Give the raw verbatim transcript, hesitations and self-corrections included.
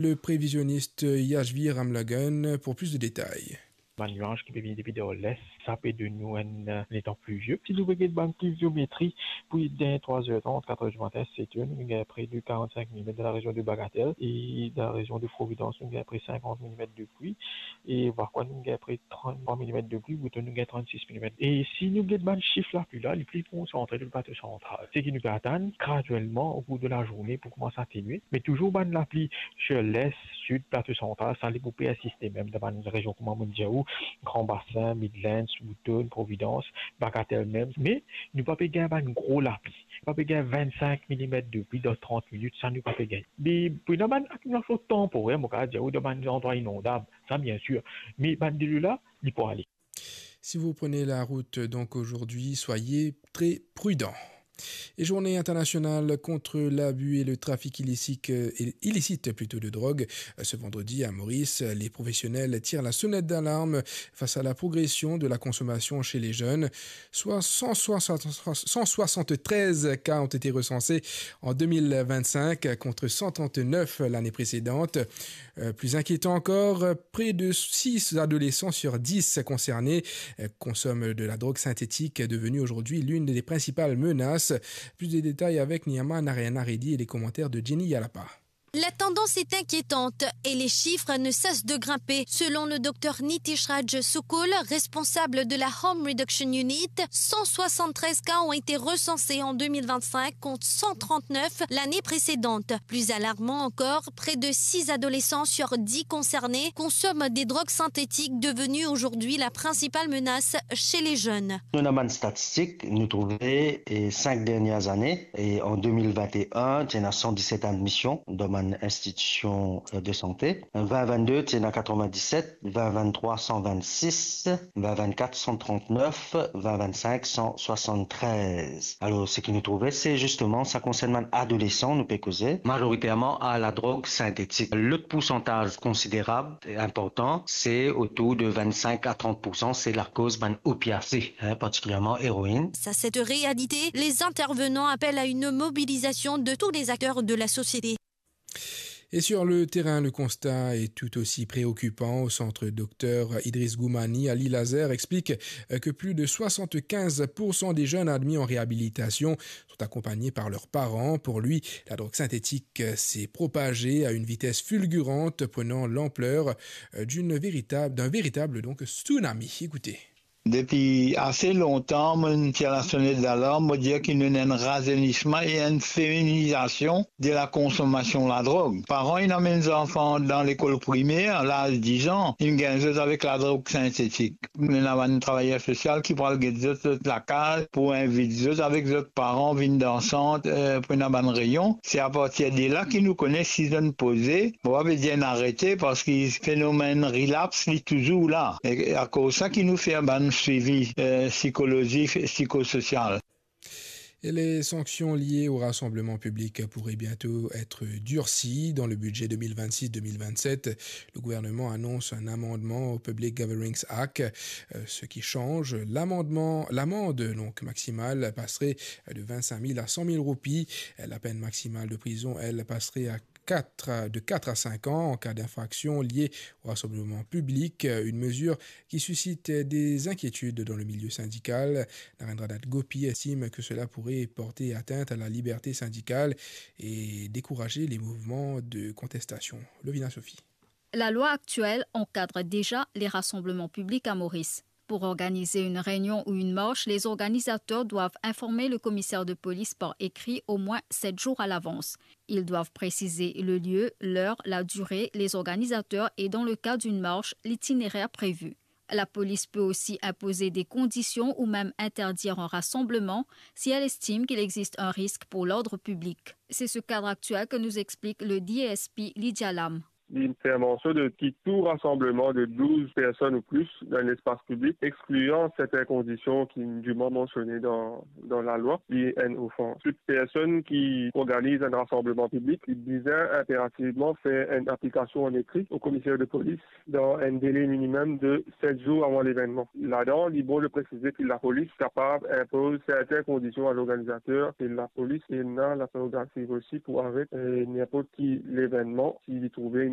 Le prévisionniste Yashvi Ramlagan pour plus de détails. Bann niaz ki pe vini depi dan les, sa pe donn nou enn, eh, letan plizie. Si nou pe get bann pliziometri pou dan trwa er trant, kat er dimatin, set er, nou gagn pre de karant-sink milimet dan larezion de Bagatelle e dan larezion de Providence, nou gagn pre sinkant milimet de pli. E Vacoas, nou gagn pre tranntrwa milimet de pli, Boutonn, nou gagn trannsis milimet. E si nou get bann sif lapli la, li pli konsantre dan plato santral. Seki nou pe atann graduelman okour de lazourne pou koumans atenue, me touzour bann lapli sir les, sid, plato santral, sa li pou persiste mem dan bann rezion kouma mo'nn dir ou, Grand Bassin, Midlands, Boutonn, Providence, Bagatelle mem. Me nou pa pe gagn bann gro lapli. Nou pa pe gagn vennsink milimet de pli dan trant minit, sa nou pa pe gagn. Me pou ena bann akimilasion tanporer, mo kapav dir ou, dan bann landrwa inondab, sa biensir. Me bann delo la, li pou ale. Si vous prenez la route donc aujourd'hui, soyez très prudents. Et journée internationale contre l'abus et le trafic illicite, euh, illicite plutôt de drogue. Euh, ce vendredi à Maurice, les professionnels tirent la sonnette d'alarme face à la progression de la consommation chez les jeunes. Soit cent soixante, cent soixante-treize cas ont été recensés en deux mille vingt-cinq contre cent trente-neuf l'année précédente. Euh, plus inquiétant encore, près de six adolescents sur dix concernés, euh, consomment de la drogue synthétique, devenue aujourd'hui l'une des principales menaces. Plus de détails avec Niama Narayana Reddy et les commentaires de Jenny Yalapa. La tendance est inquiétante et les chiffres ne cessent de grimper. Selon le docteur Nitish Raj Sukul, responsable de la Harm Reduction Unit, cent soixante-treize cas ont été recensés en deux mille vingt-cinq contre cent trente-neuf l'année précédente. Plus alarmant encore, près de six adolescents sur dix concernés consomment des drogues synthétiques, devenues aujourd'hui la principale menace chez les jeunes. Nou ena bann statistik, nou trouve, eh, sink dernie ane, e an de mil vinte e enn, ti ena san diset admision dan bann institision, eh, de sante. Vin vennde, ti ena katrevin-diset, vin venntrwa, san vennsis, vin vennkat, san trantnef, vin vennsink, san swasann-trez. Alor, seki nou trouve, se zisteman, sa konsern bann adolesan, nou pe koze, mazoriterman a la drog sintetik. Lot poursantaz konsiderab e inportan, se otour de vennsink a trant poursan, se lakoz bann opiase, hein, partikilierman eroinn. Face à cette réalité, les intervenants appellent à une mobilisation de tous les acteurs de la société. Et sur le terrain, le constat est tout aussi préoccupant. Au centre Docteur Idriss Goumani, Ali Lazer explique, euh, que plus de soixante-quinze pour cent des jeunes admis en réhabilitation sont accompagnés par leurs parents. Pour lui, la drogue synthétique, euh, s'est propagée à une vitesse fulgurante, prenant l'ampleur, euh, d'une véritable, d'un véritable, donc, tsunami. Écoutez. Depi ase lontan, mo inn tir lasonet dalarm, mo dir ki nou ena enn razeynisman e enn feminizasion de lakonsonmasion ladrog. Paran inn amenn zanfan dan lekol primer, laz diz an, inn gagn zot avek ladrog sintetik. Nou ena bann travayer sosial ki pou al get zot, zot lakaz, pou invit zot avek zot paran vinn dan sant, eh, pou ena bann reynion. Se apartir de la ki nou kone si zot inn poze, mo pa pe dir inn arete, parski fenomenn relapse, li touzour la. E akoz sa ki nou fer bann swivi, eh, psikolozik, psikososial. Et les sanctions liées au rassemblement public pourraient bientôt être durcies. Dans le budget deux mille vingt-six deux mille vingt-sept, le gouvernement annonce un amendement au Public Gatherings Act, euh, ce qui change. L'amendement, l'amende donc maximale passerait de vingt-cinq mille à cent mille roupies. La peine maximale de prison, elle, passerait à quatre à, de quatre à cinq ans en cas d'infraction liée au rassemblement public, une mesure qui suscite des inquiétudes dans le milieu syndical. Narendranath Gopi estime que cela pourrait porter atteinte à la liberté syndicale et décourager les mouvements de contestation. Lovina Sophie. La loi actuelle encadre déjà les rassemblements publics à Maurice. Pour organiser une réunion ou une marche, les organisateurs doivent informer le commissaire de police par écrit au moins sept jours à l'avance. Ils doivent préciser le lieu, l'heure, la durée, les organisateurs et, dans le cas d'une marche, l'itinéraire prévu. La police peut aussi imposer des conditions ou même interdire un rassemblement si elle estime qu'il existe un risque pour l'ordre public. C'est ce cadre actuel que nous explique le D S P Lydia Lam. Li fer mansion de ki tou rasanbleman de douz personn ou plis dan lespas piblik, exklian sertin kondision ki diman mansione dan, dan lalwa, li enn ofans. Tou personn ki organiz enn rasanbleman piblik, li bizin inperativman fer enn aplikasion an ekri o komiser de polis dan enn dele minimem de set zour avan levennman. Ladan, li bon de presize ki lapolis kapav inpoz sertin kondision a lorganizater, e lapolis ena laprerogativ osi pou aret, eh, ninport ki levennman si li trouve ena